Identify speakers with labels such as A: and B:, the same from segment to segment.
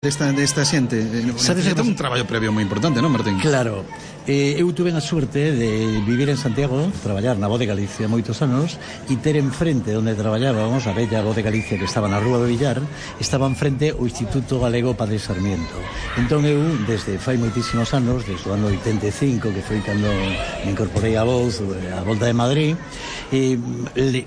A: desta xente.
B: Sabes que
A: un traballo previo moi importante, non, Martín?
B: Claro. Eu tuve a suerte de vivir en Santiago, traballar na Voz de Galicia moitos anos, e ter enfrente onde traballábamos, a bella Voz de Galicia que estaba na Rúa do Villar, estaba enfrente o Instituto Galego Padre Sarmiento. Entón eu, desde fai moitísimos anos, desde o ano 85, que foi cando me incorporei a Voz, a Volta de Madrid,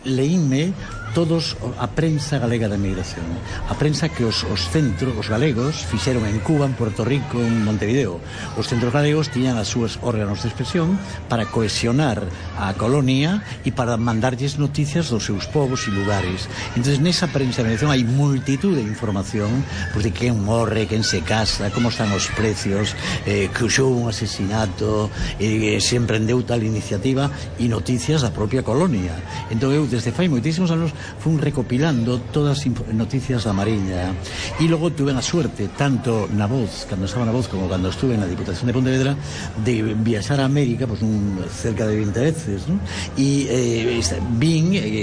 B: leínme todos a prensa galega da emigración, a prensa que os centros, os galegos fixeron en Cuba, en Puerto Rico, en Montevideo. Os centros galegos tiñan as súas órganos de expresión para cohesionar a colonia e para mandarlles noticias dos seus povos e lugares. Entonces, nesa prensa de emigración hai multitud de información, pues, de quen morre, quen se casa, como están os precios, que hubo un asesinato, se emprendeu tal iniciativa, e noticias da propia colonia. Entón eu, desde fai moitísimos anos, fui recopilando todas as noticias da Mariña, e logo tuve a suerte, tanto na Voz, cando estaba na Voz, como cando estuve na Diputación de Pontevedra, de viaxar a América, pues, cerca de 20 veces, ¿no? E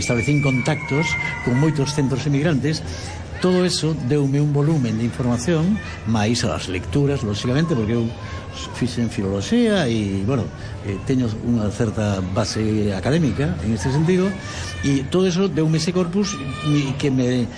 B: establecín contactos con moitos centros emigrantes. Todo eso deume un volumen de información, máis as lecturas, lógicamente, porque eu fixen filoloxía e, bueno, teño unha certa base académica en este sentido, e todo eso deume ese corpus que me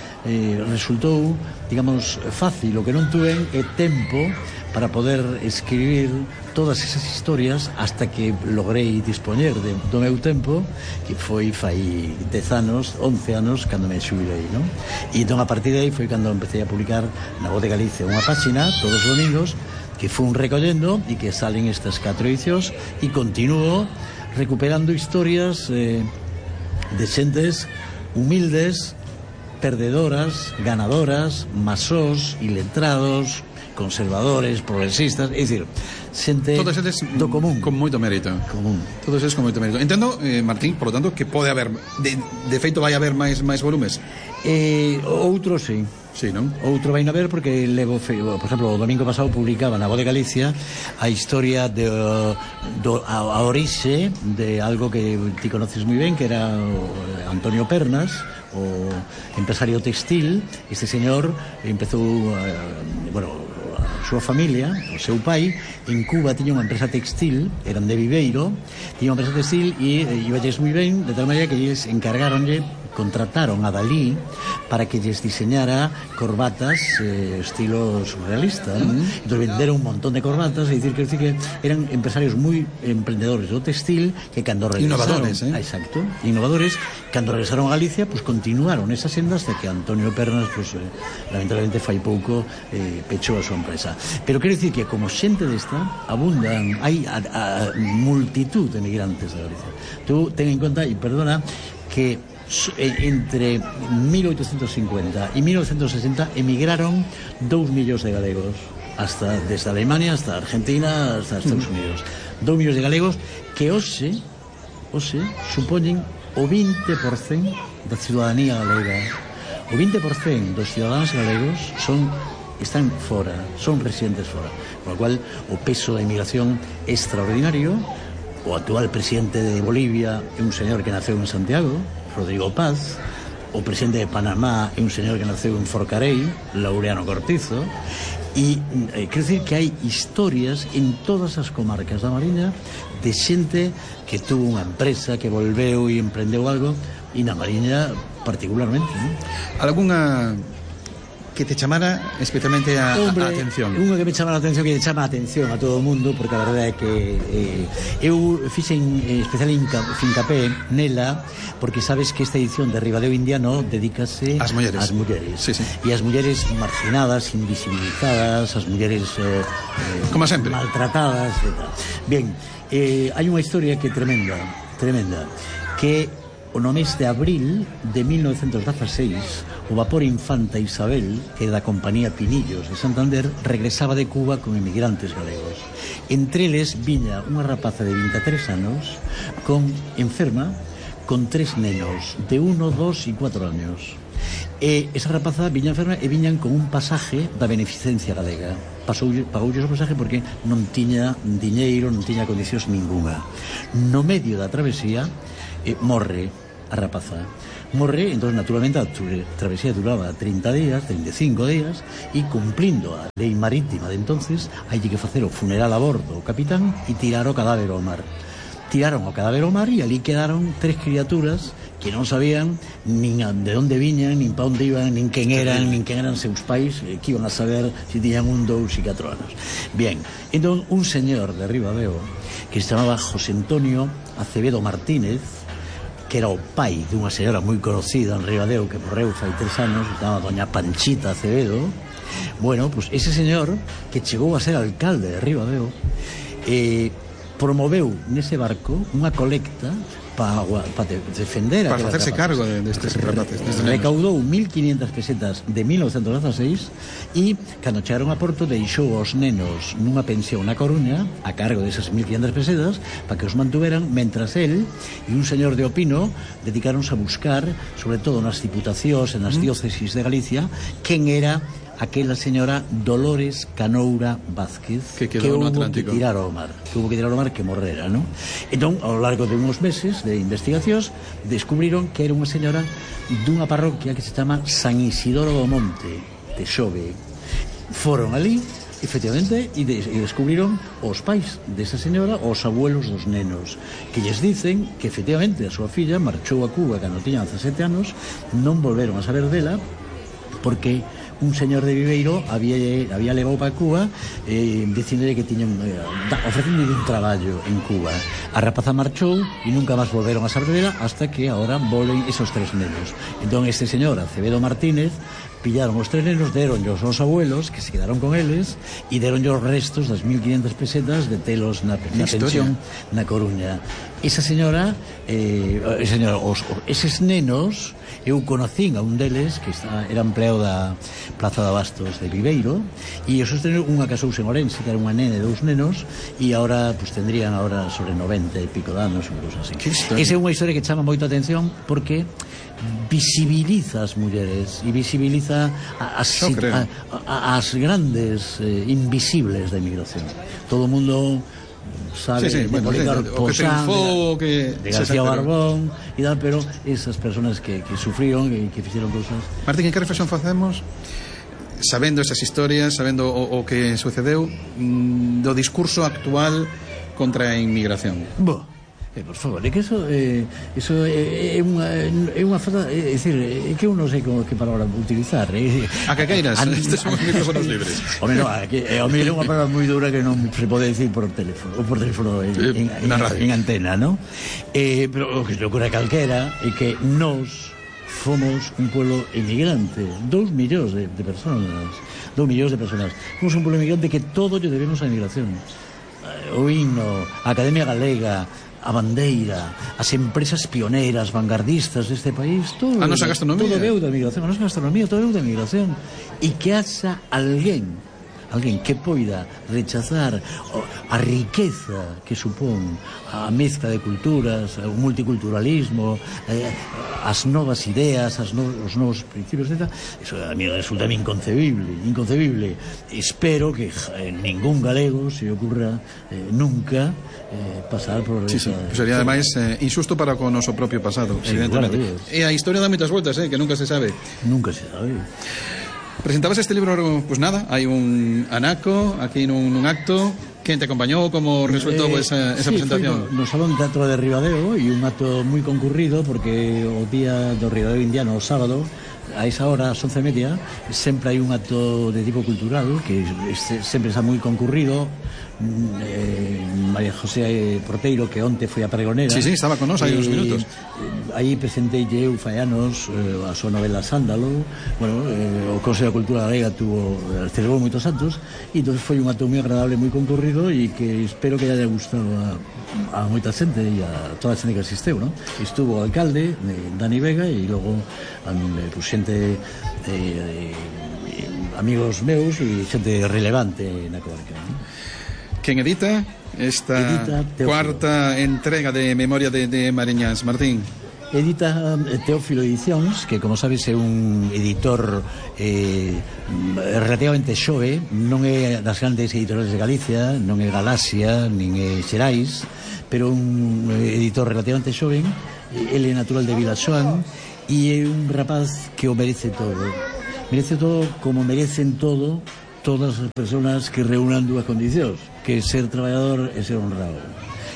B: resultou, digamos, fácil. O que non tuve é tempo para poder escribir todas esas historias hasta que logrei dispoñer do meu tempo, que foi fai 10 anos, 11 anos, cando me xubilei, non? E entón, a partir de aí, foi cando empecé a publicar na Voz de Galicia unha páxina todos os domingos, que fun recollendo e que salen estas 4 edicións, e continuo recuperando historias de xentes humildes, perdedoras, ganadoras, masós, iletrados, conservadores, progresistas, é dicir, xente do común.
A: Con moito mérito. Todos eles con moito mérito. Entendo, Martín, por lo tanto, que pode haber, de feito vai haber máis volumes?
B: Outro, sí.
A: Sí, non?
B: Outro vai a ver, porque levo, por exemplo, o domingo pasado publicaba na Voz de Galicia a historia a orixe de algo que ti conoces moi ben, que era Antonio Pernas, o empresario textil. Este señor empezou, a súa familia, o seu pai, en Cuba tiña unha empresa textil, eran de Viveiro, tiña unha empresa textil e iballes moi ben, de tal maneira que eles contrataron a Dalí para que lles diseñara corbatas estilo surrealista, ¿no? Entón venderon un montón de corbatas, e dicir que eran empresarios moi emprendedores do textil, que cando regresaron, innovadores, cando regresaron a Galicia, pues continuaron esa senda hasta que Antonio Pernas, pues lamentablemente fai pouco pechou a súa empresa. Pero quero dicir que como xente desta abundan, hai a multitud de emigrantes de Galicia. Tú ten en conta, e perdona, que entre 1850 e 1960 emigraron 2 millóns de galegos, desde Alemania hasta Argentina hasta Estados Unidos. 2 millóns de galegos que hoxe supoñen o 20% da ciudadanía galega. O 20% dos ciudadanos galegos están fora, son residentes fora, con lo cual o peso da emigración é extraordinario. O actual presidente de Bolivia é un señor que naceu en Santiago, Rodrigo Paz. O presidente de Panamá é un señor que naceu en Forcarei, Laureano Cortizo. E quero dicir que hai historias en todas as comarcas da Mariña de xente que tuvo unha empresa, que volveu e emprendeu algo, e na Mariña particularmente, ¿no?
A: Alguna que te chamara especialmente a atención?
B: Unha que me chama a atención, que chama a atención a todo o mundo, porque a verdade é que eu fixen especial fincapé nela, porque sabes que esta edición de Ribadeo Indiano dedícase ás mulleres.
A: Sí.
B: E as mulleres marginadas, invisibilizadas, as mulleres
A: como sempre,
B: maltratadas e tal. Bien, hai unha historia que é tremenda, que o no mes de abril de 1916 o vapor Infanta Isabel, que é da compañía Pinillos de Santander, regresaba de Cuba con emigrantes galegos. Entre eles viña unha rapaza de 23 anos enferma, con 3 nenos de 1, 2 e 4 años. E esa rapaza viña enferma e viñan con un pasaje da beneficencia galega. Pagoulles o pasaje porque non tiña diñeiro, non tiña condicións ningunha. No medio da travesía morre a rapaza. morre, entón naturalmente a travesía duraba 30 días, 35 días, e cumplindo a lei marítima de entonces, hai que facer o funeral a bordo o capitán e tirar o cadáver ao mar. Tiraron o cadáver ao mar e ali quedaron 3 criaturas que non sabían nin de onde viñan, nin pa onde iban, nin quen eran seus pais, que iban a saber se tiñan 1, 2 e 4 anos. Bien, entón un señor de Ribadeo que se chamaba José Antonio Acevedo Martínez, que era o pai dunha señora moi conocida en Ribadeo que morreu fai 3 anos, se chamaba doña Panchita Acevedo. Bueno, pues ese señor que chegou a ser alcalde de Ribadeo promoveu nese barco unha colecta para defender
A: para facerse cargo destes rapaces.
B: Recaudou 1.500 pesetas de 1916 e cando chegaron a Porto deixou os nenos nunha pensión na Coruña a cargo desas 1.500 pesetas para que os mantuveran, mentras él e un señor de Opino dedicaronse a buscar, sobre todo nas diputacións e nas diócesis de Galicia, quen era aquela señora Dolores Canoura Vázquez
A: que quedou no Atlántico,
B: que tirar ao mar, que morrera, ¿no? Entón, ao largo de uns meses de investigacións, descubriron que era unha señora dunha parroquia que se chama San Isidoro do Monte de Xove. Foron ali, efectivamente, e descubriron os pais desa señora, os abuelos dos nenos, que lles dicen que efectivamente a súa filla marchou a Cuba cando tiña 17 anos, non volveron a saber dela porque un señor de Viveiro había levado para Cuba dicíndolle que tiñan ofrecéndole un traballo en Cuba. A rapaza marchou e nunca máis volveron a saber dela hasta que ahora volven esos 3 nenos. Entón este señor Acevedo Martínez pillaron os 3 nenos, deronllos aos abuelos que se quedaron con eles e deronllos os restos das 1.500 pesetas de telos na pensión na Coruña. Esa señora eses nenos, eu conocín a un deles que era empleado da Plaza de Abastos de Viveiro e esos nenos, unha casouse en Orense que era unha nena e 2 nenos e agora pues, tendrían agora sobre 90 e pico de anos, unha cosa así. Esa é unha historia que chama moita atención porque visibiliza as mulleres e visibiliza as grandes invisibles da emigración. Todo o mundo sabe de Policarpo Sanz, de García Barbón e tal, pero esas personas que sufriron e que fixeron cousas.
A: Martín, que reflexión facemos sabendo esas historias, sabendo o que sucedeu do discurso actual contra a inmigración?
B: Por favor, é que eso é unha falta, é dicir, é que eu non sei que palabra utilizar.
A: A que queiras, estes son os micrófonos libres.
B: Home, non, é unha palabra moi dura que non se pode decir por teléfono, ou por teléfono en antena, non? Pero o que se ocurre a calquera é que nós fomos un pueblo emigrante, 2 millóns de personas. Fomos un pueblo emigrante que todo lle debemos á emigración. O himno, a Academia Galega, a bandeira, as empresas pioneiras, vanguardistas deste país, todo
A: a nosa gastronomía,
B: todo veu da migración, a nosa gastronomía, todo veu da migración. E que haxa alguén que poida rechazar a riqueza que supón a mezcla de culturas, o multiculturalismo, as novas ideas, os novos principios, etc. Eso a mí resulta inconcebible. Espero que ningún galego se ocurra nunca pasar por
A: esa... sería ademais injusto para con o noso propio pasado, evidentemente. E a historia dá moitas voltas, que nunca se sabe. Presentabas este libro, pues nada, hai un anaco aquí nun acto. Quen te acompañou? Como resultou esa presentación?
B: No Salón Teatro de Ribadeo e un acto moi concurrido porque o día do Ribadeo Indiano, o sábado, a esa hora, ás 11:30, sempre hai un acto de tipo cultural que sempre está moi concurrido. María José Porteiro, que onte foi a pregonera,
A: sí, estaba con nós hai uns minutos.
B: Aí presentei eu fai anos a súa novela Sándalo. Bueno, o Consello de Cultura Galega celebrou moitos actos e entón foi un acto moi agradable, moi concurrido e que espero que haya gustado a moita xente e a toda a xente que asisteu, ¿no? Estuvo o alcalde Dani Vega e logo pues, xente amigos meus e xente relevante na comarca, ¿no?
A: Quen edita esta cuarta entrega de Memoria de Mariñas, Martín?
B: Edita Teófilo Edicións, que como sabes é un editor relativamente xove, non é das grandes editoriales de Galicia, non é Galaxia, nin é Xerais, pero un editor relativamente xoven. Ele é natural de Vilaxoán e é un rapaz que o merece todo como merecen todo todas as persoas que reúnan dúas condicións, que ser traballador e ser honrado.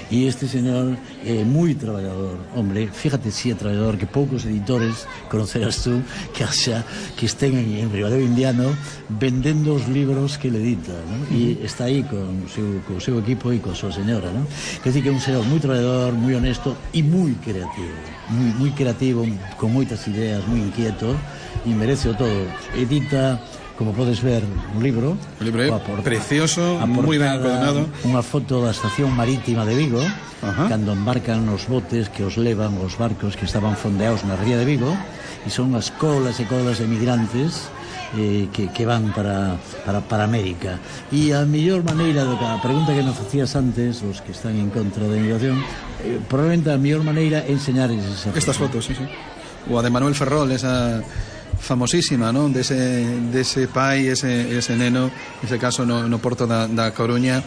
B: E este señor é moi traballador, hombre, fíjate si é traballador, que poucos editores conocerás tú que estén en Ribadeo Indiano vendendo os libros que le edita, ¿no? E está aí con o seu equipo e con súa señora, ¿no? Quer dizer que é un señor moi traballador, moi honesto e moi creativo, con moitas ideas, moi inquieto, e merece o todo. Edita, como podes ver, un libro
A: precioso, moi ben encuadernado,
B: unha foto da estación marítima de Vigo, cando embarcan os botes que os levan os barcos que estaban fondeados na ría de Vigo, e son as colas e colas de migrantes que van para América. E a mellor maneira, a pregunta que nos facías antes, os que están en contra da inmigración, probablemente a mellor maneira é enseñar
A: estas fotos, sí. O a de Manuel Ferrol, esa famosísima, non? Dese pai, ese neno, ese caso no Porto da Coruña,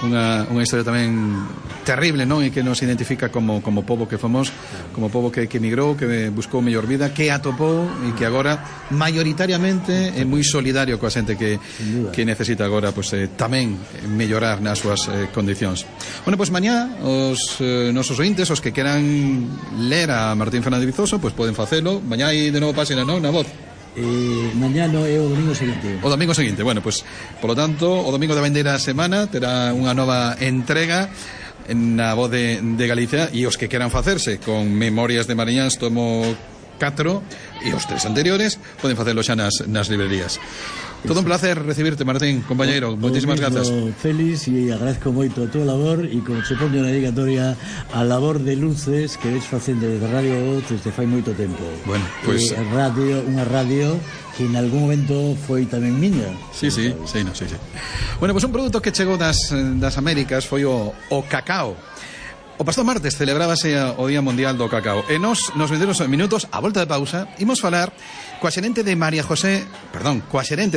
A: unha historia tamén terrible, non? E que nos identifica como pobo que fomos, como pobo que emigrou, que buscou mellor vida, que atopou e que agora maioritariamente é moi solidario coa xente que necesita agora tamén mellorar nas súas condicións. Bueno, mañá os nosos ointes, os que queran ler a Martín Fernández Vizoso, poden facelo. Mañá hai de novo páxina, non? Na Voz.
B: Mañá no é o domingo seguinte.
A: O domingo seguinte, bueno, por lo tanto, o domingo da vendeira semana terá unha nova entrega na Voz de Galicia, e os que queran facerse con Memorias de Mariñáns tomo 4 e os 3 anteriores poden facelo xa nas librerías. Todo un placer recibirte, Martín, compañeiro. Moitísimas grazas.
B: Feliz, e agradezco moito a túa labor, e como se poño na dedicatoria, a labor de luces que ves facendo desde Radio Voz desde fai moito tempo.
A: Bueno,
B: unha radio que en algún momento foi tamén miña.
A: Sí. Bueno, un produto que chegou das Américas foi o cacao. O pasado martes celebrábase o Día Mundial do Cacao, e nos vendemos minutos, a volta de pausa, imos falar coa xerente de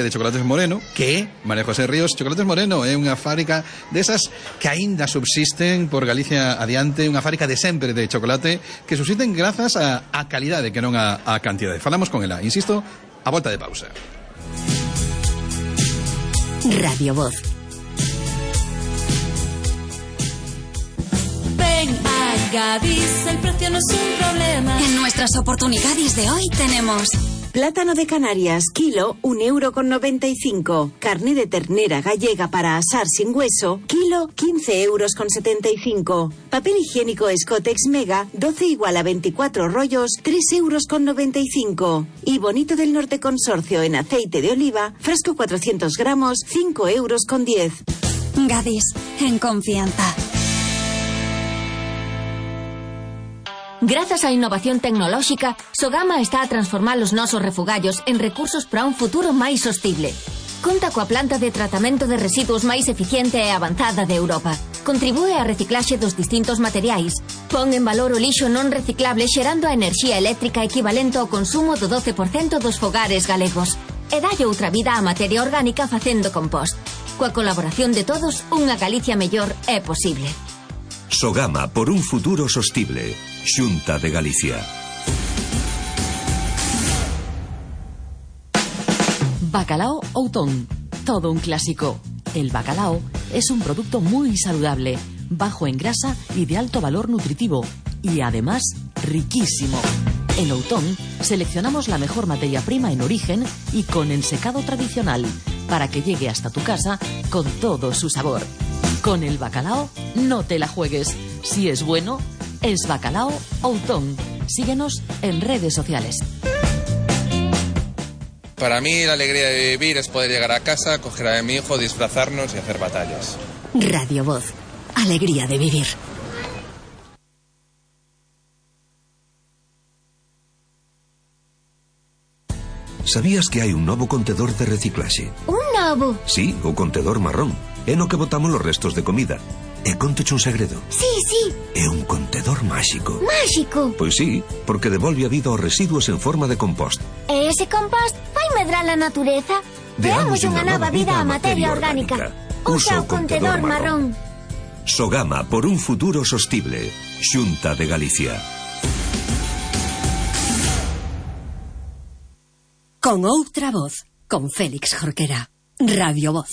A: Chocolates Moreno, que é María José Ríos. Chocolates Moreno é unha fábrica desas que aínda subsisten por Galicia adiante, unha fábrica de sempre de chocolate que subsisten grazas á calidade, que non á cantidade. Falamos con ela, insisto, a volta de pausa.
C: Radio Voz. Ven a Gadis, el precio no es un problema. En nuestras oportunidades de hoy tenemos
D: plátano de Canarias, kilo, 1,95 €. Carne de ternera gallega para asar sin hueso, kilo, 15,75 €. Papel higiénico Scottex Mega, 12 igual a 24 rollos, 3,95 €. Y Bonito del Norte Consorcio en aceite de oliva, frasco 400 gramos, 5,10 €.
C: Gadis, en confianza. Grazas á innovación tecnolóxica, Sogama está a transformar os nosos refugallos en recursos para un futuro máis sostible. Conta coa planta de tratamento de residuos máis eficiente e avanzada de Europa. Contribúe á reciclaxe dos distintos materiais. Pon en valor o lixo non reciclable xerando a enerxía eléctrica equivalente ao consumo do 12% dos fogares galegos. E dalle outra vida á materia orgánica facendo compost. Coa colaboración de todos, unha Galicia mellor é posible.
E: Sogama por un futuro sostible. Xunta de Galicia.
F: Bacalao Outón. Todo un clásico. El bacalao es un producto muy saludable, bajo en grasa y de alto valor nutritivo. Y además, riquísimo. En Outón seleccionamos la mejor materia prima en origen y con ensecado tradicional, para que llegue hasta tu casa con todo su sabor. Con el bacalao no te la juegues. Si es bueno, es Bacalao Outón. Síguenos en redes sociales.
G: Para mí la alegría de vivir es poder llegar a casa, coger a mi hijo, disfrazarnos y hacer batallas.
C: Radio Voz. Alegría de vivir.
E: Sabías que hai un novo contedor de reciclaxe?
H: Un novo?
E: Sí, o contedor marrón. É no que botamos os restos de comida. E conteche un segredo.
H: Sí.
E: É un contedor máxico.
H: Máxico?
E: Pois sí, porque devolve a vida aos residuos en forma de compost.
H: E ese compost vai medrar a natureza? Deamos unha nova vida á materia orgánica. Usa o contedor marrón.
E: Sogama por un futuro sostible. Xunta de Galicia.
I: Con outra voz, con Félix Jorquera. Radio Voz.